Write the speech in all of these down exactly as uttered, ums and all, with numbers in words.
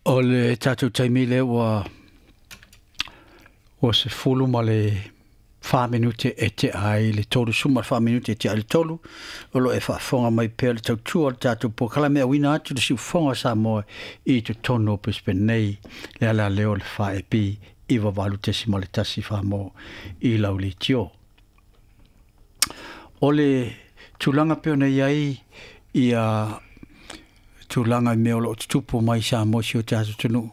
O le tatou taimi lea ua ua sefulu ma le fa minute e tea ai le tolu, suma le fa minute e tea ai le tolu. O lo o e faafofoga mai pea le tautua o le tatou polokalame auina atu le siufofoga o Samoa i totonu o Brisbane nei, le ala lea o le fa E P iva valu tesima le tasi Samoa i lau leitio. O le tulaga pei ona i ai ia tulaga i mea o lo o tutupu mai Samoa si o tatou atunuu,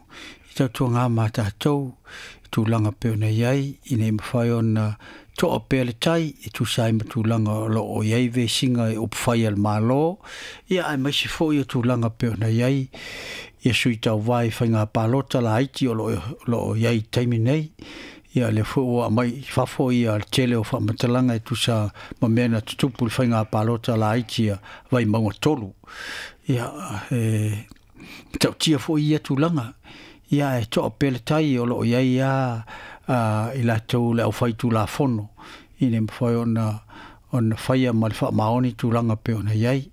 i tautuaga ma tatou, tulaga pei ona i ai, ina ia mafai ona toa pea le tai, e tusa ai ma tulaga o lo o i ai vesiga e upufai a le Malo, ia aemaise foi o tulaga pei ona i ai ia sui tauva i faiga palota laiti o lo o i ai i taimi nei. Ia lea foi ua aumai i fafo ia le tele o faamatalaga e tusa ma mea na tutupu i le faiga palota laiti a Vaimauga tolu. Ia e matautia foi ia tulaga. Ia e toa pea le tai o lo o i ai lava i latou le aufai tulafono ina ia mafai ona ona faia ma le faamaoni tulaga pei ona i ai.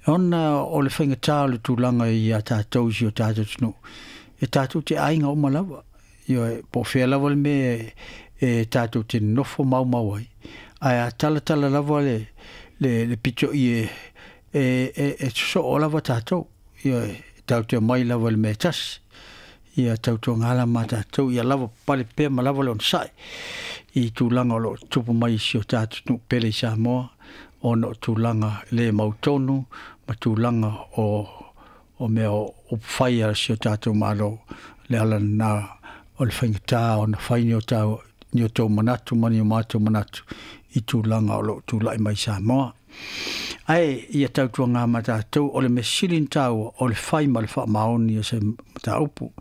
Ona o le faigata o le tulaga ia tatou i si o tatou atunuu, e tatou te aiga uma lava. Ioe, po o fea lava le mea e tatou te nonofo maumau ai, ae a talatala lava le, le, le pito'i e, e, e, e sosoo lava tatou. Ioe, tatou te omai lava i le mea e tasi. Ia tautuaga la ma tatou, ia lava papale pea ma lava le onosai i tulaga o lo o tutupu mai i si o tatou atunuu pele i Samoa, ona o tulaga le mautonu ma tulaga o, o mea o upufai a si o tatou Malo. Le ala lena o le faigata ona fai ni o tau, ni o tou manatu ma ni o matou manatu i tulaga o lo o tulai mai Samoa. Ae ia tautuaga ma tatou, o le mea sili ona taua o le fai ma le faamaoni o se mataupu.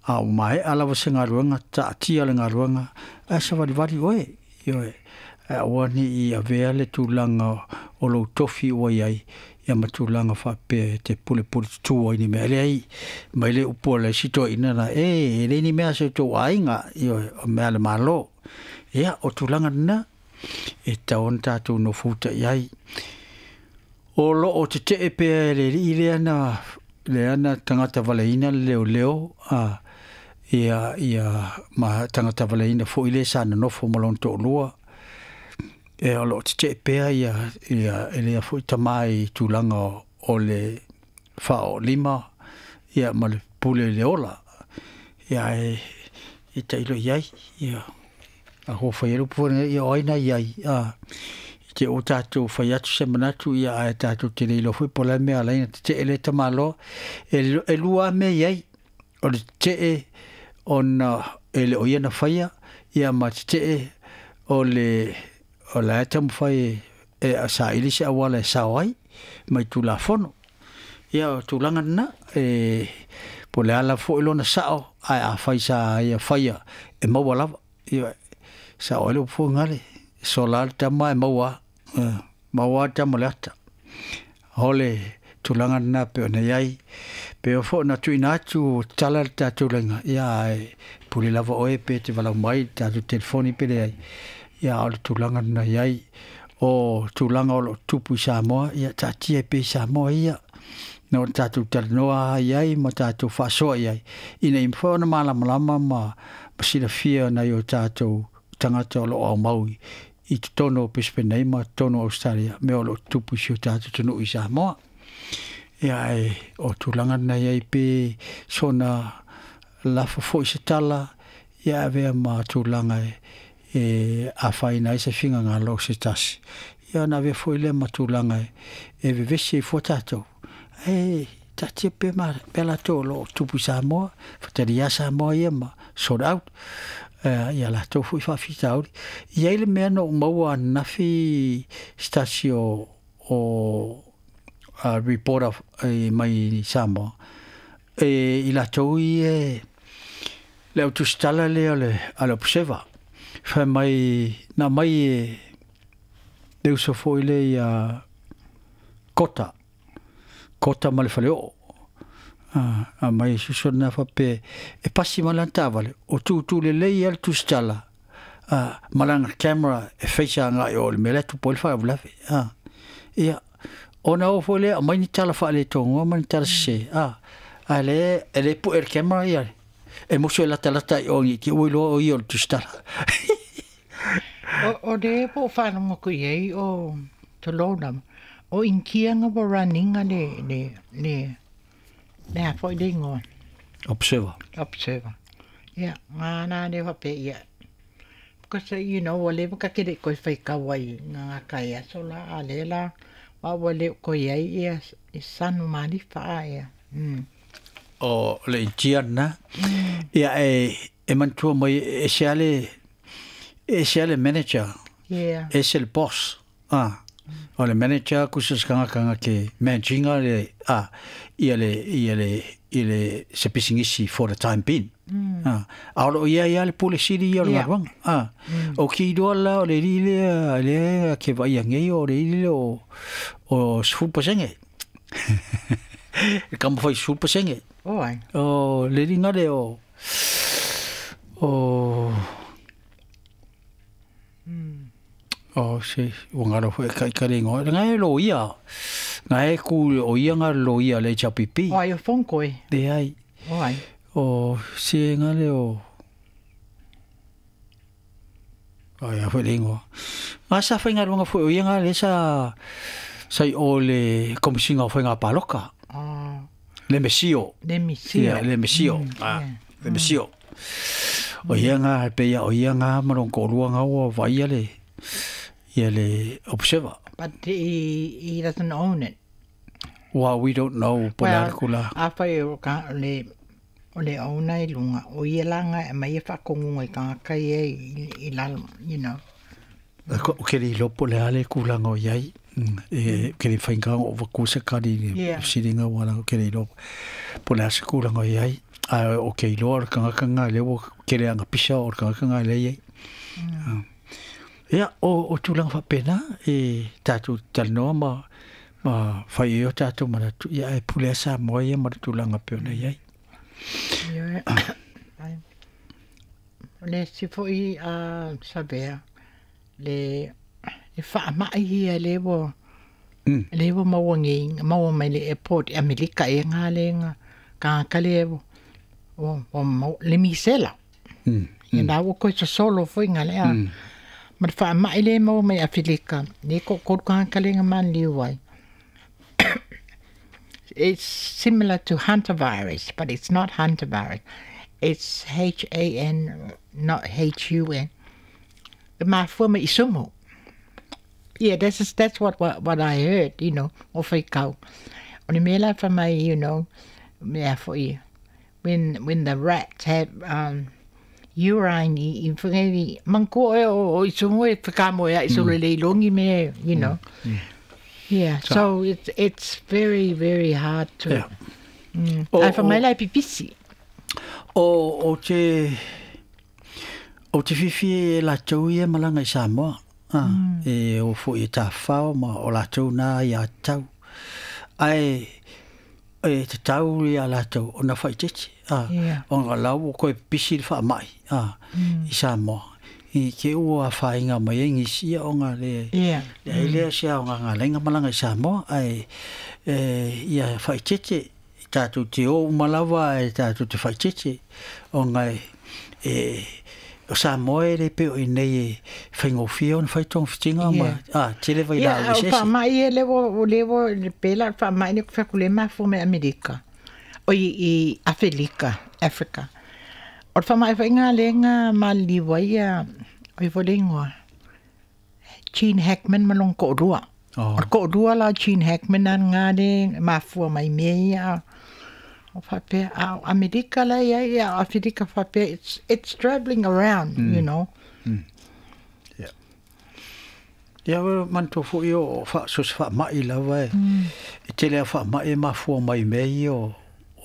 A ua maea lava se galuega, taatia le galuega, ae savalivali oe. Ioe, ae aua ne i avea le tulaga o lou tofi ua i ai, ia ma tulaga faapea e te pulepule tutu ai ni mea. E leai, mai le upu a le isi toeaina la, e, e leai ni mea a si o tou aiga, ioe, o mea a le Malo. Ia, o tulaga lena, e tatau ona tatou nofofuta i ai. O lo o tetee pea e le alii lea na, lea na tagata valeina le leoleo, a, ia, ia, ma tagata valeina foi le sa nonofo ma lona toalua. E o lo o tetee pea ia, ia, e lea foi tama i tulaga o, o le faaolima, ia, ma le pule i le ola. Ia, e, e tailo i ai, ia, a ho fai ai le upu foi lenei, ia o ai na i ai, a, i te o tatou fai atu se manatu, ia, ae tatou te le iloa foi po o le a le mea e ala ai ona tetee lea tamaloa. E, e lua lava mea i ai, o le tetee ona e le o ia na faia, ia ma tetee o le o la e taumafai e, e saili se auala e sao ai mai Tulafono. Ia o tulaga lena, e po o le a lava foi lona sao, ae afai sa ia faia e maua lava. Ia, sao ai le upu foi gale, e sola le tama e maua a, maua a le tama o le ata. O le tulaga lena pei ona i ai, pei foi ona tuuina atu tala le tatou laina, ia ae pule lava oe pe te valaau mai le tatou telefoni pe leai. Ia o le tulaga lena i ai, o tulaga o lo o tupu i Samoa, ia taatia ai pea i Samoa ia. Na o tatou talanoa i ai ma tatou faasoa i ai, ina ia mafai ona malamalama ma, ma silafia nai o tatou tagata o lo o aumau i totonu o Brisbane nei ma totonu o Australia, mea o lo o tupu i si o tatou atunuu i Samoa. Ia ae o tulaga lena i ai pe sona lafo foi se tala, ia avea ma tulaga e, e afaina ai se finagalo o se tasi. Ia ona avea foi lea ma tulaga e, e vevesi ai fua tatou. E taatia pea ma pea latou o lo o tupu i Samoa, fatalia Samoa ia ma sort out. Uh, ia latou foi faafitauli. I ai le mea na ou maua ananafi se tasi o, o uh, reporter e, mai Samoa. E, i latou i e, le au tusitala lea o le, a le Observer. Fai mai, na mai e le uso foi lea ia Kota. Kota ma le faleoo. A, a mai susu na faapea e pasi ma lana taavale, o tutu lelei ai le tusitala, a, ma lana camera e feisa agai o le mea lea e tupu ai le faalavelave. A, ia, ona oo foi lea aumai ni tala faaletonu ma ni tala sese, a, A le e le pu e le camera ia e moso e lata lata i o ni te ui loa o ia o le tusitala. O, o le po whanonga ku iei o Tolona, o inkianga wa runninga le, le, le, le a foi le ingoa. Observer. Observer. Ia, ngā nā le wape ia. Because, you know, wa le waka kere koe whai kawai ngā ngā kai aso la, a le la, wa wa le koe ai ia, i sanu malifa a ia. Mm. O le intian na. Ia e, e mantua mai e se ale, e se ale manager. Yeah. E se le boss. Ah. O le manager ku se skanga kanga ke managinga le a ia le ia le ia le se pisingisi for the time being. Mm. Ah, a o ia ia le pule siri ia le Yeah. galuega. Ah. O ki doa la o le li le le ke vai ngai o le li o o sefulu pasenge. E kama fai sefulu pasenge. O ai. O le linga le o o o se o ngaro foi kai kai ngo ngai lo ia ngai ku o ia nga lo ia le H P P O ai o fongkoi. le ai O ai. o se nga le o o ia foi le ngo nga sa foi nga nga foi o ia nga le sa sai o le komisinga foi nga paloka Ah, le mesio le misio. ia le mesio Mm, ah yeah. le mesio o ia nga pe ia o ia nga marong ko lua nga o vai ia le ia le observer. But he, he doesn't own it. Well, we don't know po Well, la kula. a whai o ka le o le ona i lunga o ia langa e mai e whakongunga i ka kai e i, i lalo, you know. Ko ke li lopo le ale kula ngo iai. E ke li whainga o wakusa kari ni Yeah. siringa wala ke li lopo. Po le ase kula ngo iai. A o ke iloa o kanga kanga le o ke le anga pisa o kanga kanga le iai. Ia, o, o tūlanga whapena, e tātou talanoa ma, ma whai o tātou mana tu, ia e pule asa moa ia ma tūlanga peona iai. Ia, ai. O le si foi a sabea, le, le whaamai ia le wo, Mm. le wo maua ngi, maua mai le airport i Amerika e ngā le ngā, ka ka le wo, o, o mau, le misela. Mm. Ia nā wo koe solo foi ngā le a. Mm. Ma le whaamai le maua mai Afrika, le ko koru ka ka le ngā man liu ai. It's similar to hantavirus, but it's not hantavirus. It's H A N, not H U N. The mafua me isumu. Yeah, that's that's what, what what I heard, you know, o whaikau. O le mea fa mai, you know, mea foi, when when the rats have um, urine i, i whangairi, mangko e o, o isumu e whakamo e isolo le ilongi me, you know. Yeah, so it's it's very, very hard to... Yeah. Mm. O- Ai fa mai o- lai pipisi. O, o te, o te whiwhi e lātou ia malanga i Samoa. Ah, mm. E o fo i tāwhao ma o lātou nā i a tau. Ai, e te tau i a lātou o nā whaitete. Ah, Yeah. O ngā lau o koe pisi le whaamai ah, mm. i Samoa. I ke ua whainga mai e ngisi ia o ngā le... Yeah. Le ai lea se au ngā ngā lenga malanga i Samoa, ai e, ia whaitete, tātou te o umalawa e tātou te whaitete, o ngā e, o Samoa e le peo i nei e whaingofia o na whaitonga whitinga ma, ah, te lewa i la Yeah, o o sese. whaamai e lewo, o lewo, le pela, whaamai ne whakule mafua me Amerika. O i, i Afrika, Afrika. O le whaamai whainga le ngā maliwa ia, o i volengoa. Gene Hackman malong ko'orua. Oh. O le ko'orua la Gene Hackman an ngā le mafua mai mea ia. O whapea, a Amerika la ia, ia, Afrika whapea, it's, it's traveling around, mm. you know. Ia wa manto fo i o wha, so se whaamai lawa e. Mm. E te lea whaamai e mafua mai mea ia o,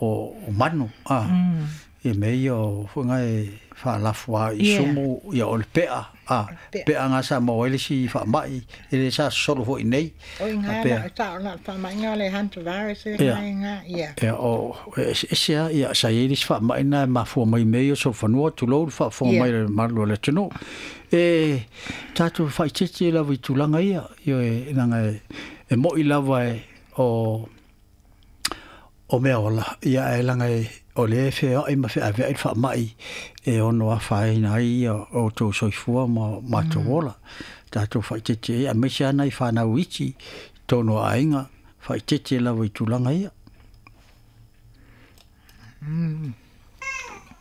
o, o manu. Ah. Mm. I mea ia o whangai e whaalafua i Yeah. sumu ia o le pea. Ah, Pea. pea ngā sa maua ele si whaamai, ele sa solo fo i nei. O i ngā, Pea. la, sa o la whaamai ngā le hantavirus e Yeah. ngā ngā, yeah. Ia o e se a ia sa i ris whaamai nā mafua mai mea ia so whanua tulou whaafua Yeah. mai le malu le tunu. E tātou whaitete lava i tūlanga ia, ia e nanga e, e moi lava e o o mea ola, ia ae laga e o lea e feoai ma feaveai le faamai e ono afaina ai ia outou soifua ma matou ola. Tatou faaeteete ai, aemaise lava nai fanau iti i totonu o aiga, faaeteete lava i tulaga ia. Mm.